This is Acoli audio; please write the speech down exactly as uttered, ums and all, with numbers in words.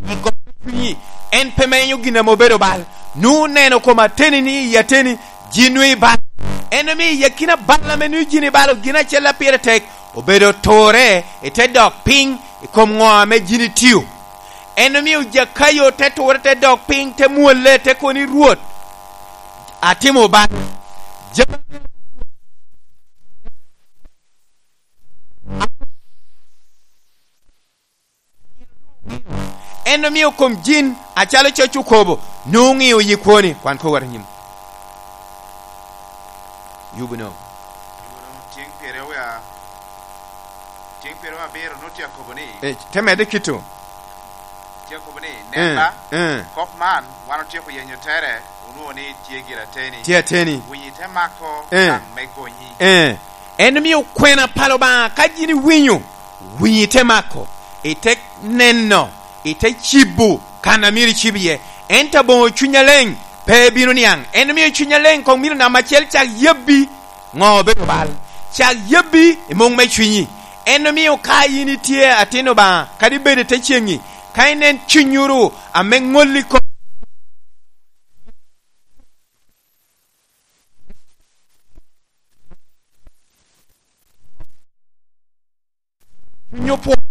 I got me cwinyi, en pe menyo gin ame obedo bal. Nongo neno kom ateni ni i ateni, jin nongo ibalo. En omiyo i akina bal ame nongo jin ibalo, gin acel a pire tek obedo ture ite dok piny i kom ngo ame jin itiyo. En omiyo Jakayo te ture te dok piny te mwolle te koni, Rwot, atimo bal. Jami ame En omiyo kom jin acalo coc okobo, nongo ngiyo yi kwoni. Kwan kor wat anyim. Yubu no. Yubu no tyeng pyeraryo wiye tyeng pyeraryo abiro nongo tye akobo ni. Eh, te medde kito. Tye akobo ni, Eh, Nen ba, eh. kop man wan otyeko yenyo tere, onwongo ni tye gire ateni. Tye ateni. Winyi te mako Eh. gang me gonyi. Eh. En omiyo kwena pa Lubanga ka jin iwinyo, winyi ite mako, ite neno, ite cibo kan a myero icib iye. Ento abongo cwiny aleng pe ebino niang. En omiyo cwiny aleng kong myero namba acel cak yabbi ngo obedo bal. Cak yabbi i mung me cwinyi. En omiyo ka in itye atin Lubanga kadi ibedo ite cengi, ka inen cwinyuru ame ngolli kop, Cwiny opwoyo.